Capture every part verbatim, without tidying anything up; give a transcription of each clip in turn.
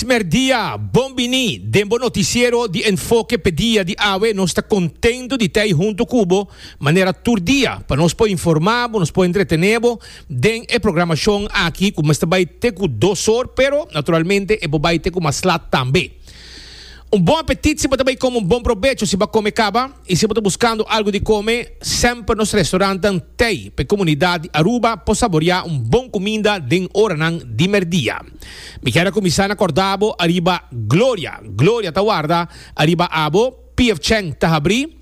Merdia, bon bini, den bo noticiero di Enfoke p'e dia di awe. Nos ta contento di ta hunto cu bo, manera tur dia, pa nos por informa, nos por entretene den e programacion aki, cu ta bay te cu dos or, pero naturalmente e por bay te cu mas lat tambe. Un bon apetit si bo tambe come, un bon probecho si bo a come caba y si bo ta buscando algo di come, semper nos restaurant t'ey pa comunidad di Aruba por saborea un bon cuminda den oranan di merdia. Mi kier cuminsa na corda bo ariba Gloria. Gloria ta warda ariba abo, P F Chang ta habri,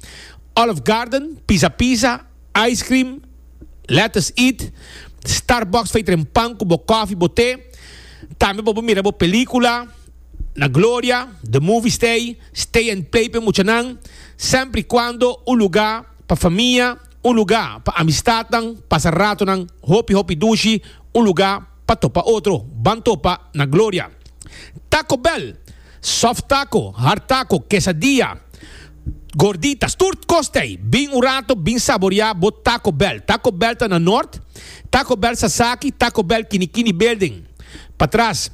Olive Garden, Pizza Pizza, Ice Cream, Let Us Eat, Starbucks feito em pan cu bo coffee, bo te. Tambe bo mira bo pelicula na Gloria, The Movie Stay, Stay and Play pa muchanan, semper y cuando un lugar pa famia, un lugar pa amistad, pasa rato nan, hopi hopi dushi, un lugar pa topa otro, ban topa na Gloria. Taco Bell, soft taco, hard taco, quesadilla, gorditas, tur cos t'ey. Bin un rato, bin saborea bo Taco Bell. Taco Bell ta na Noord, Taco Bell Sasaki, Taco Bell Kinikini Building. Patras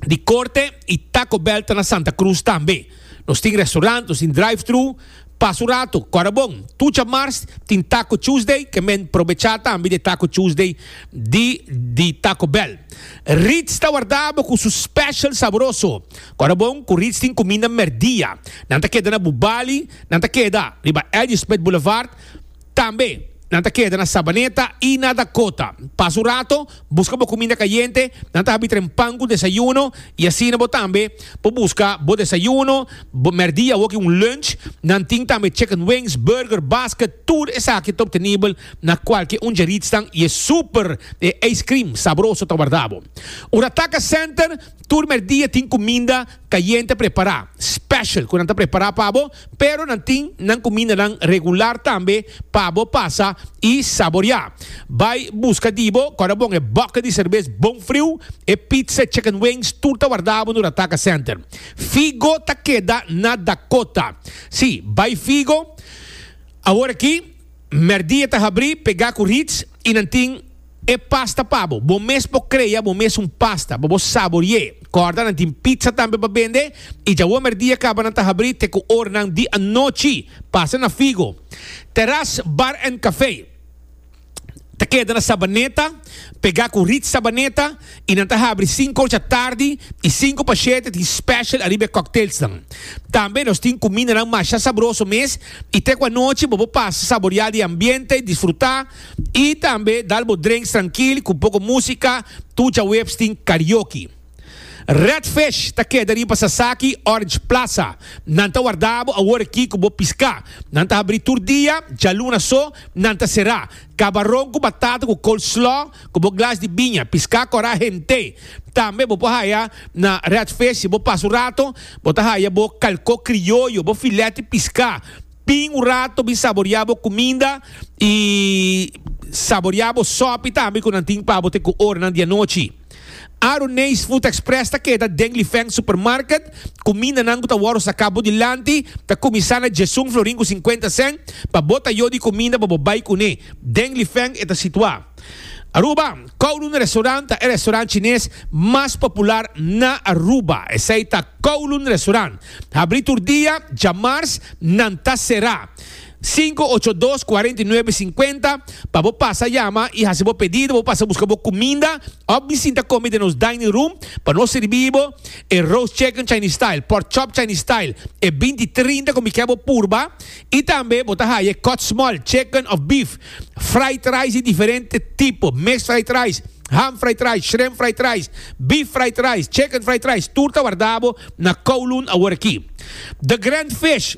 di Corte y Taco Bell ta na Santa Cruz tambe. Nos tin restaurant, nos tin drive-thru, pasa un rato, corda bon. Tur diamars tin Taco Tuesday, kiermen aprovecha tambe di Taco Tuesday di, di Taco Bell. Ritz ta warda bo cu su special sabroso. Corda bon, cu Ritz tin cuminda merdia. Nan ta keda na Bubali, nan ta keda riba Eddie Smith Boulevard, tambe nan ta keda na Sabaneta y na Dakota. Pasa un rato, busca bo cuminda cayente, nan ta habri trempan cu desayuno y asina bo tambe por busca bo desayuno, bo merdia of un lunch, nan tin tambe chicken wings, burger, basket, tur esaki ta obtenibel na cualke un Ritz y e super eh, ice cream sabroso ta warda bo. Urataka Center, tur merdia tin cuminda cayente prepara, special, cu nan ta prepara pa bo, pero nan tin nan cuminda nan regular tambe pa bo pasa y saborea. Bay busca di bo, corda bon, e boca di cerbes bon frio, e pizza, chicken wings, tur ta warda bo na Urataka Center. Figo ta keda na Dakota. Si, bay Figo, awor aki, merdia ta habri, pega cu Ritz, y nan tin e pasta pa bo. Bo mes por crea, bo mes un pasta, bo saborea. Corda, nan tin pizza tambe pa bende, y ya merdia caba nan ta habri, te cu oranan di anochi. Pasa na Figo. Terrace Bar and Café ta keda na Sabaneta, pega cu Ritz Sabaneta, y nan ta habri cinco or atardi y cinco pa siete tin special ariba cocktails nan. Tambe nos tin cuminda nan mas sabroso mes, y te cu anochi bo pasa saborea di ambiente, disfruta, y tambe dal bo drinks trankil, cu poco musica, tur diahuebs tin karaoke. Red Fish ta keda riba Sasaki Orange Plaza. Nan ta warda bo awor aki cu bo pisca. Nan ta habri tur dia, dialuna so, nan ta sera. Cabaron cu batata cu coleslaw, cu bo glas di biña, pisca cora hende. Tambe bo por haya na Red Fish, bo pasa un rato, bo ta haya bo calco crioyo, bo filete pisca. Bin un rato, bin saborea bo cuminda y saborea bo sopi tambe cu nan tin pa bo te cu oranan di anochi. Aroneis Food Express ta keda den Lifeng Supermarket. Cuminda nan cu ta wordo saca bo dilanti, ta cuminsa na diesun florin cu cincuenta cent, pa bo ta yo di cuminda pa bo bay cune. Den Lifeng e ta situa. Aruba, Kowloon Restaurant, e restaurant Chines mas popular na Aruba. Esey ta Kowloon Restaurant. Habri tur dia, diamars, nan ta sera. cinco ocho dos cuarenta y nuebe cincuenta pa bo pasa yama y haci bo pedido, bo pasa busca bo cuminda, of sinta come den nos dining room, pa nos sirbi bo e roast chicken Chinese style, pork chop Chinese style, e binti trinta cu mi kier bo purba, y tambe bo ta haya cut small chicken of beef, fried rice di diferente tipo, mixed fried rice, ham fried rice, shrimp fried rice, beef fried rice, chicken fried rice, tur ta warda bo na Kowloon awor aki. The Grand Fish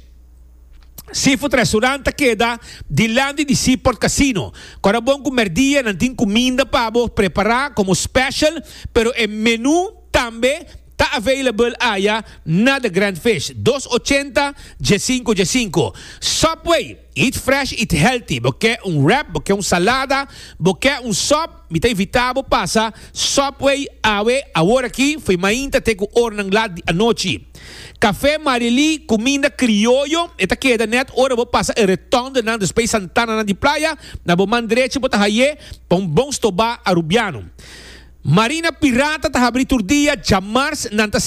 Seafood Restaurant keda dilanti di Seaport Casino. Corda bon cu merdia nan tin cuminda pa bo prepara como special, pero e menu tambe ta available aya na The Grand Fish. dos ochenta diescinco diescinco. Subway, eat fresh, eat healthy. Bo kier un wrap, bo kier un salada, bo kier un sub, mi ta invita bo pasa Subway awe awor aki, for di mainta te cu oranan lat di anochi. Café Marili, cuminda crioyo, e ta keda net ora bo pasa e rotonde na Space Santana na di Playa, na bo man drechi bo ta haye pa un bon stoba arubiano. Marina Pirata ta habri tur dia, djamars nan ta